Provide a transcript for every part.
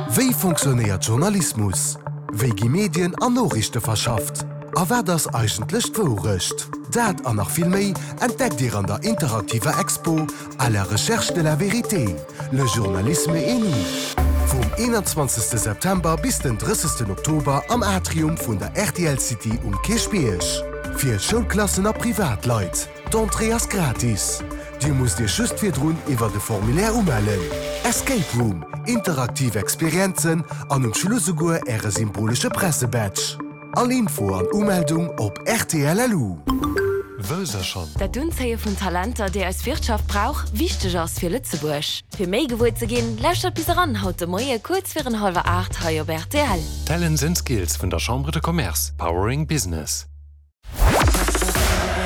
Wéi fonctionnéiert Journalismus? Wéi gi Medien an Noriichte verschafft? A wat ass eigentlech d'Wourecht? Dat an nach vill méi entdeckt Dir an der interaktiver Expo À la recherche de la vérité, le journalisme et nous vum 21 September bis den 30 Oktober am Atrium vun der rtl City um Kierchbierg. Fir Schoulklassen a Privatleit. D'Entrée ass gratis. Dir musst Iech just virdrun iwwert e Formulaire umellen. Escape Room, interaktiv Experienzen an um Schluss esouguer Äre symbolesche Pressebadge. All Info an Umeldung op rtl.lu. Wësst der schonn? Dat d'Unzéie vun Talenter, déi eis Wirtschaft brauch, wichteg ass fir Lëtzebuerg. Fir méi gewuer ze ginn, lauschtert bis eran haut de Moie kuerz virun hallwer 8 hei op rtl. Talents and Skills vun der Chambre de Commerce, powering business.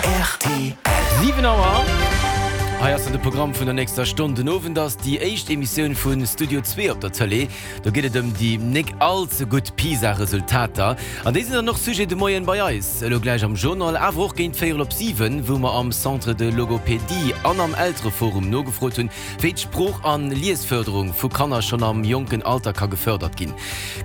Rtl. 7 Auer, hei ass dann de Programm vun der nächster Stonn. Den Owend ass déi éischt Emissioun vu Studio Zwee op der Tëlee. Do geet et ëm déi nek all ze gutt PISA-Resultater. An déi sinn dann och Sujet de Moien bei eis, elo gläich am Journal, awer och géint véierel op 7, wou mer am Centre de Logopédie an am Eltereforum nogefrot hunn, wéi d'Sprooch an Liesfërderung vu Kanner schonn am jonken Alter ka gefërdert ginn.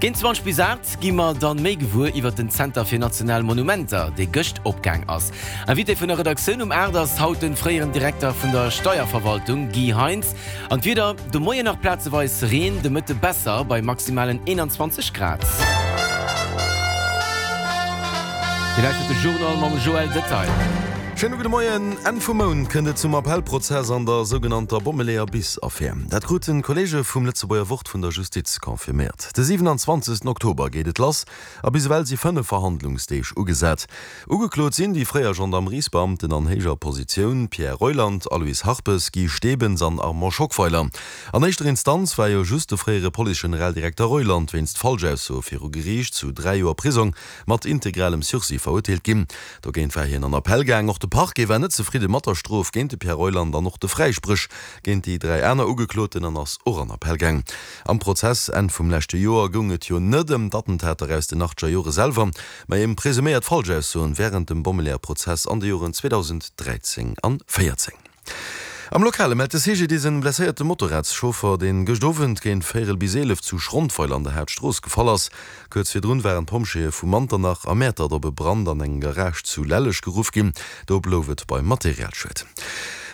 Géint 20 bis 8 gi mer dann méi gewuer iwwert den Zenter fir national Monumenter, dee gëscht opgaang ass. Invité vun der Redaktioun um 8 ass haut den fréieren Direkter vun der Steierverwaltung Guy Heintz. An d'Wieder, de Moien nach plazeweis Reen, de Mëtte besser bei maximalen 21 Grad. Dir lauschtert de Journal mam Joël Detail. Schéine gudde Moien. Enn vum Mount kënnt et zum Appellprozess an der sougenannter Bommeleeër-Bis-Affär. Dat kruten d'Kolleege vum Lëtzebuerger Wort vun der Justiz confirméiert. De 27 Oktober geet et lass a bis ewell si 5 Verhandlungsdeeg ugesat. Ugeklot sinn déi fréier Gendarmeriesbeamten an héijer Positioun Pierre Reuland, Aloyse Harpes, Guy Stebens an Armand Schockweiler. An éischter Instanz war jo just de fréiere Police-Generaldirekter Reuland wéinst Falschaussoe viru Geriicht zu 3 Joer Prisong mat integralem Sursis verurteelt ginn. Dogéint war hien an Appell gaang. Och de Parquet war net zefridde mat der Strof géint de Pierre Reuland an och de Fräispréch géint déi 3 aner Ugekloten an ass och an Appell gaang. Am Prozess Enn vum leschte Joer goung et jo net ëm d'Attentater aus den achtzeger Jore selwer, mä ëm presuméiert Falschaussoen wärend dem Bommeleeër-Prozess an de Joren 2013 an 14. Am Lokale mellt de CGDIS en blesséierte Motorradschauffer, deen gëscht Owend géint véierel bis 11 zu Schrondweiler an der Haaptstrooss gefall ass. Kuerz virdrun waren d'Pompjeeë vu Manternach a Mäertert op e Brand an engem Garage zu Lelleg geruff ginn. Do blouf et beim Materialschued.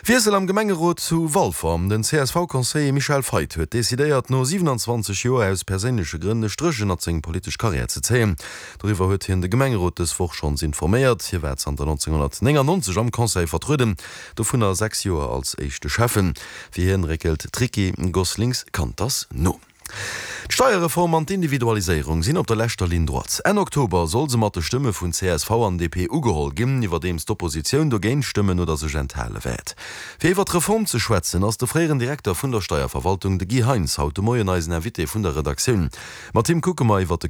Wiessel am Gemengerot zu Walfer, Den CSV-Conseiller Michel Feith huet decidéiert, no 27 Joer aus perséinleche Grënn e Stréch ënnert seng politesch Karriär ze zéien. Doriwwer huet hien de Gemengerot dës Woch schonns informéiert. Hie war zanter 1999 am Conseil vertrueden, dovunner 6 Joer als éischte Schäffen. Fir hien réckelt d'Ricky Goslings-Canters no. D'Steierreform an d'Individualiséierung sinn op der leschter Ligne droite. Enn Oktober soll se mat de Stëmme vun csv an DP ugeholl ginn, iwwerdeems d'Oppositioun dogéint stëmmen oder sech enthale wäert. Fir iwwer d'Reform ze schwätzen, ass de fréieren Direkter vun der Steierverwaltung, de Guy Heintz, haut de Moien eisen Invité vun der Redaktioun. Mat him kucke mer iwwer de.